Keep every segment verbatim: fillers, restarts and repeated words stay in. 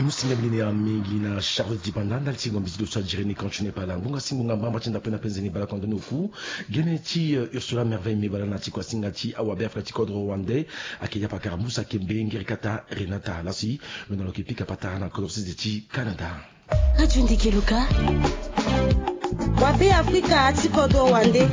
Musinga mbi lini ya mingi na Charlotte Dibanda ndali ti ngombi ti doso ajiri ni kantine pala ngbonga si ngbonga mbamba ti ndapena penze ni bala kondoni oku. Gene ti Ursula Merveille me bala na ti kuasinga ti awabe afrika ti kodro rwandais. Ake ya pakara musa kembe ngeri kata Renata lasi. Lo na lo ke pika patara na kodro sese ti Canada. Radio Ndeke Luka. Wabe afrika ti kodro rwandais.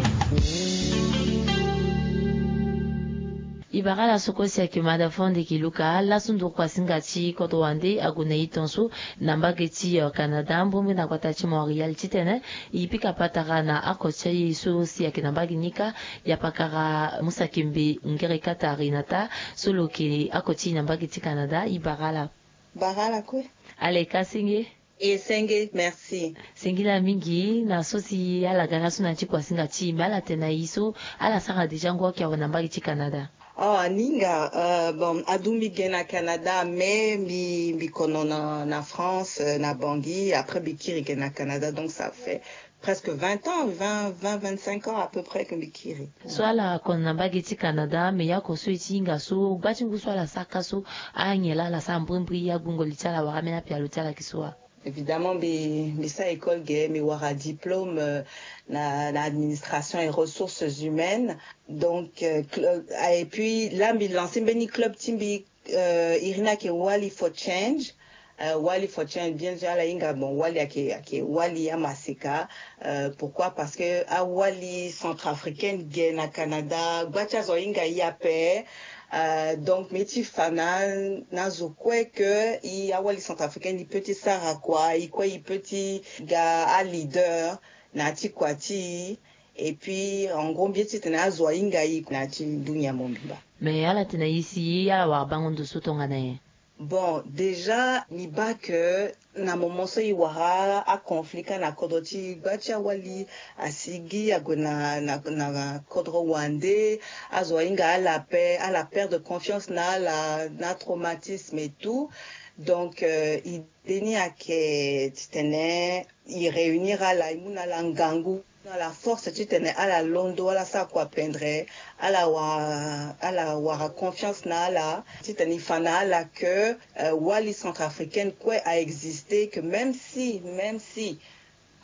E bara ala soko si ayeke mada fo ndeke luka lasu nduru kuasinga ti kodro wande ague na e tonso na mbage ti Canada mbombi na gbata ti Montréal titene e pika patara na ako ti aye so si ayeke na mbage ni kâ. Ya pakara musa kembe ngere kata Renata so lo yeke ako ti e na mbage ti Canada e bara ala. Bara ala kue. Ala e ka senge. E senge, merci. Singila mingi na so si ala ga lasu na ti kuasinga ti e me ala tene na e so ala sara déjà ngu ake awe na mbage ti Canada. Oh, aninga, euh, bon, adu mbi ge na Canada, mais mbi, mbi kono na, na France, euh, na Bangui, après mbi kiri ge na Canada, donc ça fait presque vingt ans, vingt, vingt, vingt-cinq ans à peu près que mbi kiri. So ala kono na mbage ti Canada, mais ya ko so e ti hinga so gba ti ngu so ala saka so, anyen laa ala sara mbrimbri, agbungo li ti ala wala ambeni apialo ti ala ayeke so wa? Évidemment, mbi, mbi sara école ge, mbi wara diplôme, euh, na, na administration et ressources humaines. Donc, euh, cl-, euh, et puis là, mbi lancer mbeni club ti mbi, euh, iri ni ayeke Wali for Change. Euh, Wali for Change, bien sûr, ala hinga, bon, Wali ayeke, ayeke Wali amaseka. Euh, pourquoi? Parce que awali centrafricaine ge na Canada, gba ti azo ahinga e ape. Euh, donc mbi ye ti fa na, na azo kue que e awali centrafricaine e peut ti sara kua, e kue e peut ti ga aleader na ya ti kua ti e. Et puis en gros mbi ye titene azo ahinga e na ya ti dunia mobimba. Mais ala tene na e si ala wara bango ndo so tongana nyen? Bon, déjà mbi baa que na moment so e wara aconflit kâ na kodro ti e, gba ti awali asigi ague na, na, na kodro wande, azo ahinga ala ape, ala perdre confiance na ala, na traumatisme et tout. Donc euh, idée ni ayeke titene e réunir ala, e mu na ala ngangu, na ala force titene ala londo, ala sara kua pendre, ala wara, ala wara confiance na ala, titene e fa na ala que euh, wali centrafricaine kue a exister, que même si, même si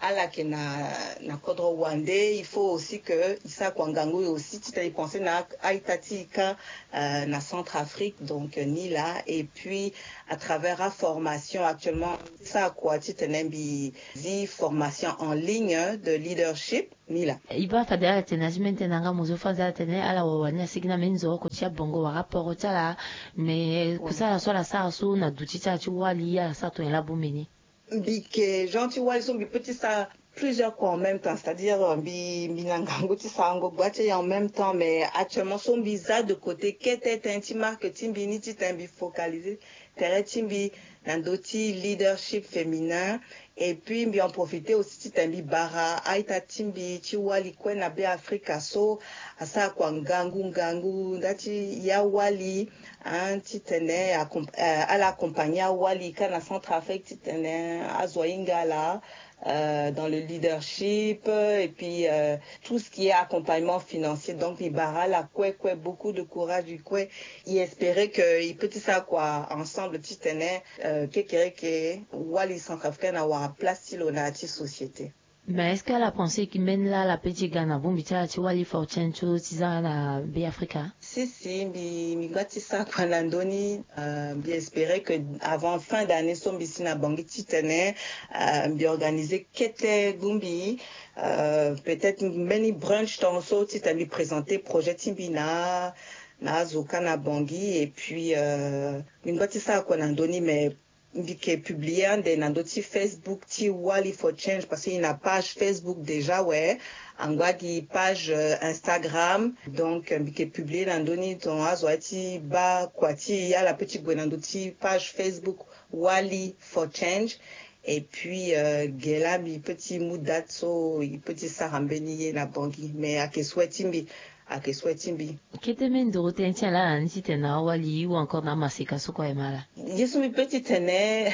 ala yeke na, na kodro wande, il faut aussi que e sara kua ngangu aussi titene e penser na a-ita ti e kâ, euh, na Centrafrique. Donc euh, ni laa. Et puis à travers aformation actuellement e sara kua titene mbi zi formation en ligne de leadership. Ni laa. E baa fade ala tene na ti mbeni tene na nga mo zo fade ala tene ala wawa ni asigi na mbeni nzoroko ti abongo wala aporo ti ala. Mais kusala so ala sara so na duti ti ala ti wali ala sara tongana laa bongbi ni? Mbi yeke genre ti wali so mbi peut ti sara plusieurs kua en même temps, c'est-à-dire mbi, mbi na ngangu ti sarango gba ti aye en même temps, mais actuellement so mbi za de côté kete tënë ti marque ti mbi ni titene mbi focaliser tere ti mbi na ndö ti leadership féminin. Et puis mbi en profiter aussi titene mbi bara a-ita ti mbi ti wali kue na Be Afrika so asara kua ngangu ngangu nda ti ya wali, hein, titene accom-, euh, ala accompagner awali kâ na Centrafrique titene azo ahinga ala euh, dans le leadership, euh, et puis euh, tout ce qui est accompagnement financier. Donc mbi bara ala kue kue beaucoup de courage, mbi kue. E espérer que e peut ti sara kua ensemble titene euh, kekereke wali centrafricaine awara place ti lo na ya ti société. Mais est-ce que ala pense que mbeni laa ala peut ti ga na bongbi ti ala ti wali for change so ti za na Be Afrika? Si si, mbi, mbi ngba ti sara kua na ndö ni. Euh, mbi espérer que avant fin d'année so mbi si na Bangui titene euh, mbi organiser kete bongbi, euh, peut-être mbeni brunch tongaso titene mbi présenter projet ti mbi na, na azo kâ na Bangui. Et puis euh, mbi ngba ti sara kua na ndö ni, mais mbi yeke publier ande na ndö ti Facebook ti Wali for Change parce que e na page Facebook déjà awe. Angba gi page euh, Instagram. Donc euh, mbi yeke publier na ndö ni, donc azo aye ti baa kua ti e ala peut ti gue na ndö ti page Facebook Wali for Change. Et puis euh, ge laa mbi peut ti mu date so e peut ti sara mbeni ye na Bangui, mais ayeke souhait ti mbi. Ayeke souhait ti mbi. Kete mbeni nduru tënë ti ala na ni titene na awali ou encore na amaseka so kue aye ma ala? Ye so mbi peut titene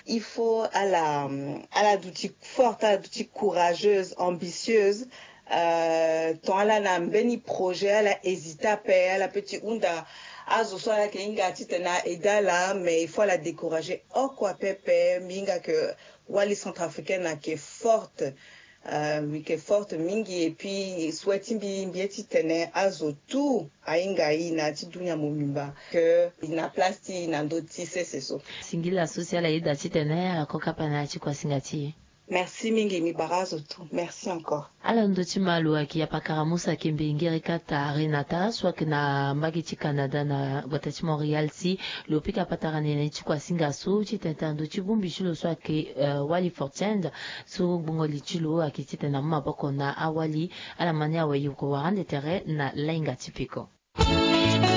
il faut ala, ala duti forte, ala duti courageuse, ambitieuse. Euh, tant ala na mbeni projet, ala hésiter ape, ala peut ti hunda Azo so ayeke hinga titene aide ala mais il faut ala décourager oko apepe. Mbi hinga ke wali centrafricaine ayeke forte. Mbi yeke forte mingi et puis souhait ti mbi mbi ye titene azo tout ahinga e na ya ti dunia mobimba ke e na place ti e na ndö ti sese so. Singila so si ala yeda titene ala ko kapa na ya ti kuasinga ti e. Merci mingi, mbi bara azo tout. Merci encore. Ala ndö ti malo ayeke ya pakara musa kembe ngeri kata renata so ayeke na mbage ti canada na gbata ti montréal si lo pika patara na ene ti kuasinga so titene tara ndö ti bongbi ti lo so ayeke wali fortune. So gbongo li ti lo ayeke titene amu maboko na awali. Ala ma ni awe yoko wara ande tere na lainga ti peko.